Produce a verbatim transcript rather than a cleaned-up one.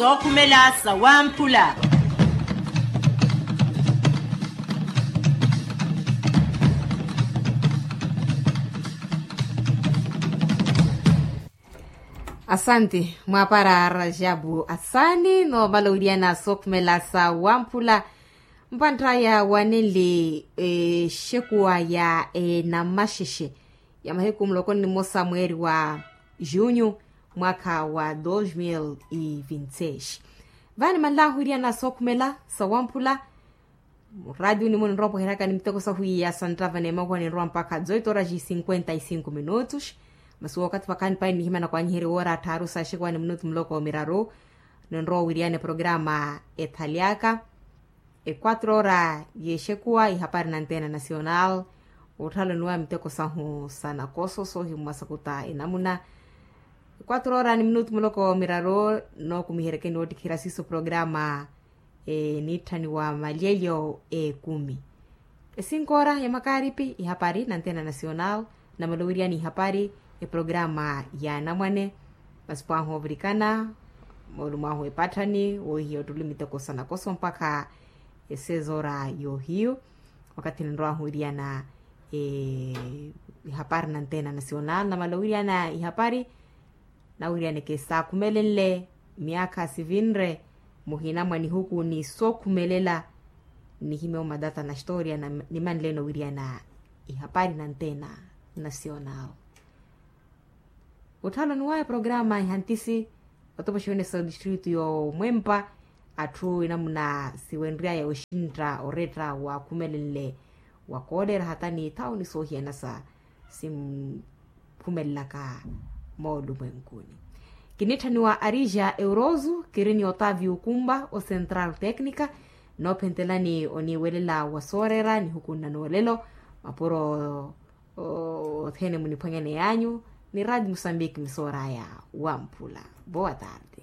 Sookhumela sawamphula. Asante mwaapara rajabu asani noomala owiriyana sookhumela sawamphula. Mpanttaya wanenle exekuwa ya enamaxexe ya mahiku muloko ni mmosa mweeri wa junyu mwaakha wa dos mil e vinti seis. Vaani manlaahu wiriana sookhumela sawamphula. Muraatiyuni muno nrowa opoheryaka ni miteko sahu iya santtava n'emakuwa ninrowa mpakha dezoito horas e cinquenta e cinco minutos. Masi wookathi vakhaani paini nihimana kwanyiherya woora atthaaru sa exekuwa ni minutu muloko miraru. Ninrowa owiriyana eprograma ethalyaka equatro ora y'exekuwa ihapari na antena nacional. Otthaloniwa miteko sahu sa nakoso soohimmwa sakuta enamuna. Equatro ora ni minutu muloko miraru nookumiheryeke ni woottikhira siiso programa eniitthaniwa malyelyo ekumi. Esinko ora ya makaaripi ihapari na antena nacional. Namala owiriyana ihapari eprograma ya anamwane. Masi pwahu ovirikana moolumo ahu epatthani woohiya ottuli miteko sa nakoso mpakha esezoora yoohiyu. Wakathi ninrowahu wiriyana ihapari na antena nacional namala wiriyana ihapari. Nawiriyaneke saakhumelenle miyaakha sivinre muhina mwa nihuku ni sookhumelela. Nihimye omatata na historia nimanleno wiriyana ihapari na antena nacional. Otthalo ni waya programa ihantisi otopoxiwene sa distritu y'omwempa. Atthu enamuna siwenry'aya oxintta oretta waakhumelenle wakoolera hata ni ithawuni soohiyana sa sinkhumelelaka moolumwenkuni. Kinitthaniwa arija eurozu kiri ni otavio kumba o central tecnica. Noophentelani oniiwelela wa soorera nihuku nna noolelo mapuro othene muniphwanyaneyanyu ni radi musambiki misooraya wamphula. Boa tarde.